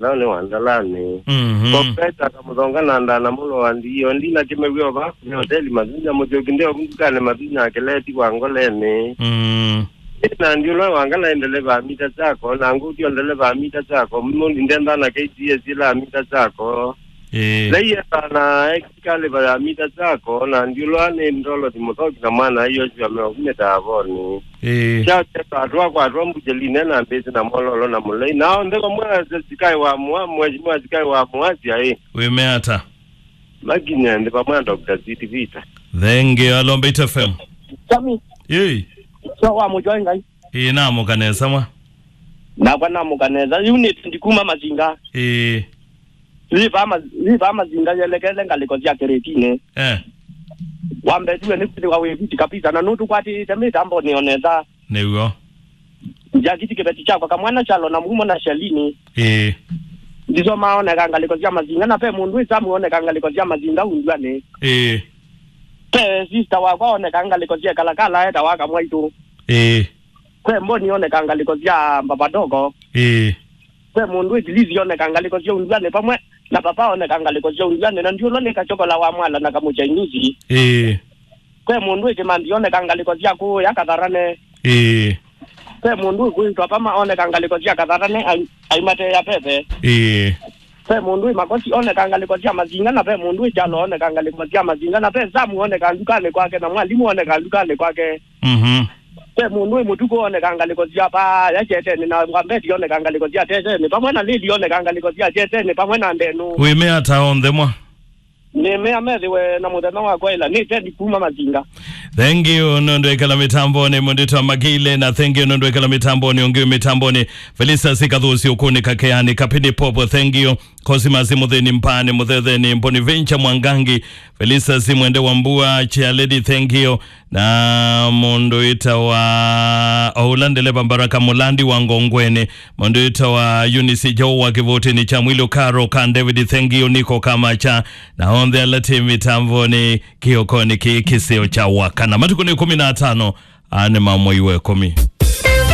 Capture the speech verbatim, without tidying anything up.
Nao nĩ Wandalanĩ. Mhm. Profesa akamũthonga na ndana mũlo wa ndiyo. Ndina kĩmew'e o vakuvi hoteli Mathunya, Mũthyũki nde ovu ndukanĩ Mathunya akĩleti wa Ngoleni. Mm. Ĩ na ndiũlwa wangala ndeleva mita chako, na ngũtio ndeleva mita chako, mũndi ndenda na K T S ila mita chako. Ĩĩ. Leiye sana ekikalĩva ya mita chako, na ndiũlwa nĩ ndolo ti mũthoki na mwana iyo cio meovu mĩtavoni. Ĩĩ. Kyateka atwa kwatwa mbujeline na mbĩsĩ na mololo na mũlei. Nao nthĩ vamwe sikai wa mwa, mheshimiwa sikai wa mwasya ĩ. Wĩme ata? Makinya nthĩ vamwe na Doctor Ziti Vita. Thank you, Alombeit F M. Sami, Yei. So wa mũtwaĩ Ngai. Ĩĩ, namũka nesa mwa. Nakwa namũka nesa. Unit ndikuma Mazinga. Ĩĩ. Riva ma-, riva Mazinga yelekele ngalĩko sya Keretine. Eh. Wambetiwe nĩ kwĩthĩwa wĩ viti kabisa, na nũtũkwatĩte mĩtambonĩ o nesa. Nĩw'o. Njakiti kĩveti kyakwa kamwana Kyalo na Mumo na Shalini. Ĩĩ. Ndisomaa oneka ngalĩko sya Mazinga, na ve mũndũ ĩsamu oneka ngalĩko sya Mazinga Undwani. Ĩĩ. Ve sister wakwa oneka ngalĩko sya Kalakala etawa Kamwaitũ. Ĩĩ. Ve Mboni oneka ngalĩko sya Mbavadoko. Ĩĩ. Ve mũndũ ĩtilisi oneka ngalĩko sya Undwani vamwe na papa oneka ngalĩko sya Undwani, na ndiũlwa nĩ Kachokola wa Mwala na Kamũchainisi. Ĩĩ. Ve mũndũ ĩkĩmandi oneka ngalĩko sya kũũya Katharane. Ĩĩ. Ve mũndũ ĩkwĩtwa Pama oneka ngalĩko sya Katharane ai-, aimateea veve. Ĩĩ. Ve mũndũ ĩ Makosi oneka ngalĩko sya Mazinga, na ve mũndũ ĩ Kyalo oneka ngalĩko sya Mazinga, na ve Samu oneka ndukanĩ kwake, na mwalimũ oneka ndukanĩ kwake. Mhm. Ve mũndũ ĩ Mũtuku oneka ngalĩko sya Vaya Kyeteni, na Wambeti oneka ngalĩko sya Teteni, vamwe na Lili oneka ngalĩko sya Kyeteni, vamwe na Ndenu. Wĩme ata onthe mwa? Nĩmea methĩwe na mũthenya wa kwaĩla. Nĩ Ted kuma Mazinga. Thank you nũndũ ekala mĩtambonĩ, mũndũ wĩtawa Magile, na thank you nũndũ ekala mĩtambonĩ, ũngĩ wĩ mĩtambonĩ. Felicitas Kathusi ũkũnĩ Kakeani, Kapini Popo, thank you. Cosmas Mũthĩni Mpani, Mũthetheni, Bonaventure Mwangangi, Felicitas Mwende wa Mbua, Chair Lady, thank you. Na mũndũ wĩtawa Oula Ndeleva Mbaraka Mũlandi wa Ngongweni, mũndũ wĩtawa Eunice Joe wa Kĩvũtĩnĩ kya Mwilĩ Ũkaro ka David Thengio Niko Kamacha, na onthe ala tĩ mĩtambonĩ kĩokonĩ kĩĩ kĩseo kya wakana. Matukũ nĩ ĩkũmi na atano, aa nĩ ma mwei wa ĩkũmi.